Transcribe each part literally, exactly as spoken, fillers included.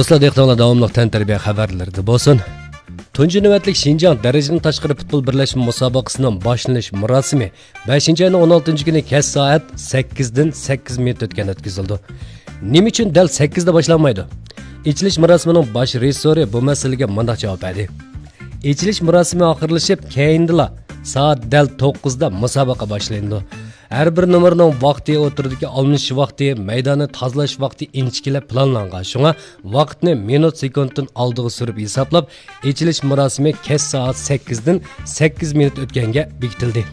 دوستلار، دىققىتىڭلار داۋاملىق تەنتەربىيە خەۋەرلىرىدە بولسۇن. تۇنجى نۆۋەتلىك شىنجاڭ دەرىجىدىن تاشقىرى پۇتبول بىرلەشمە مۇسابىقىسىنىڭ باشلىنىش مۇراسىمى بەشىنچى ئاينىڭ ئون ئالتىنچى كۈنى كەچ سائەت سەككىزدىن سەككىز مىنۇت ئۆتكەندە ئۆتكۈزۈلىدۇ. نېمە ئۈچۈن دەل سەككىزدە باشلانمايدۇ؟ ئېچىلىش مۇراسىمىنىڭ باش رېژىسسورى بۇ مەسىلىگە مۇنداق جاۋاب بەردى. ئېچىلىش مۇراسىمى ئاخىرلىشىپ، كەينىدىلا سائەت دەل توققۇزدا مۇسابىقە باشلىنىدۇ. ھەر بىر نومۇرنىڭ ۋاقتى، ئوتتۇرىدىكى ئالمىشىش ۋاقتى، مەيداننى تازىلاش ۋاقتى ئىنچىكىلەپ پىلانلانغان. شۇڭا ۋاقىتنى مىنۇت سېكۇنتتىن ئالدىغا سۈرۈپ ھېسابلاپ، ئېچىلىش مۇراسىمى كەچ سائەت سەككىزدىن سەككىز مىنۇت ئۆتكەنگە بېكىتىلدى.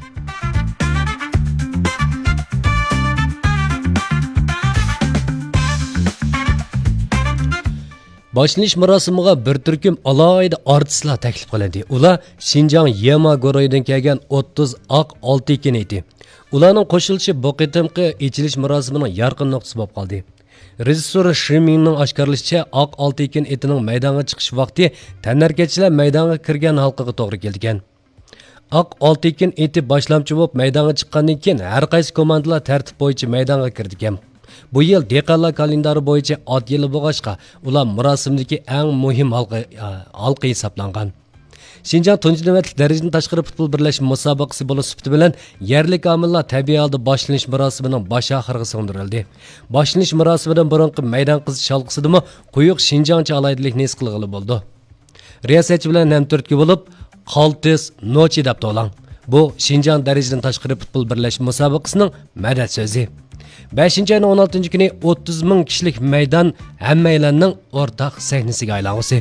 باشلىنىش مۇراسىمىغا بىر تۈركۈم ئالاھىدە ئارتىسلار تەكلىپ قىلىندى. ئۇلار شىنجاڭ يېما گۇرۇھىدىن كەلگەن ئوتتۇز ئاق ئالتە ئېكىن ئېتى. ئۇلارنىڭ قوشۇلۇشى بۇ قېتىمقى ئېچىلىش مۇراسىمىنىڭ يارقىن نۇقتىسى بولۇپ قالدى. رېژىسسور شى مىڭنىڭ ئاشكارىلىشىچە، ئاق ئالتە ئېكىن ئېتىنىڭ مەيدانغا چىقىش ۋاقتى تەنھەرىكەتچىلەر مەيدانغا كىرگەن ھالقىغا توغرا كېلىدىكەن. ئاق ئالتە ئېكىن ئېتى باشلامچى بولۇپ مەيدانغا چىققاندىن كېيىن، ھەر قايسى كوماندىلار تەرتىپ بويىچە مەيدانغا كىرىدىكەن. بۇ يىل دېھقانلار كالېندارى بويىچە ئات يىلى بولغاچقا، ئۇلار مۇراسىمدىكى ئەڭ مۇھىم ھالقا، ھالقا ھېسابلانغان. شىنجاڭ تۇنجى نۆۋەتلىك دەرىجىدىن تاشقىرى پۇتبول بىرلەشمە مۇسابىقىسى بولۇش سۈپىتى بىلەن، يەرلىك ئامىللار تەبىئىي ھالدا باشلىنىش مۇراسىمىنىڭ باش ئاخىرىغا سىڭدۈرۈلدى. باشلىنىش مۇراسىمىدىن بۇرۇنقى مەيدان قىزىش ھالقىسىدىمۇ قويۇق شىنجاڭچە ئالاھىدىلىكنى ھېس قىلغىلى بولىدۇ. رىياسەتچى بىلەن ھەمتۈرتكە بولۇپ، قالتىس نوچى دەپ توۋلاڭ. بۇ شىنجاڭ دەرىجىدىن تاشقىرى پۇتبول بىرلەشمە مۇسابىقىسىنىڭ مەدەت سۆزى. بەشىنچى ئاينىڭ ئون ئالتىنچى كۈنى ئوتتۇز مىڭ كىشىلىك مەيدان ھەممەيلەننىڭ ئورتاق سەھنىسىگە ئايلانغۇسى.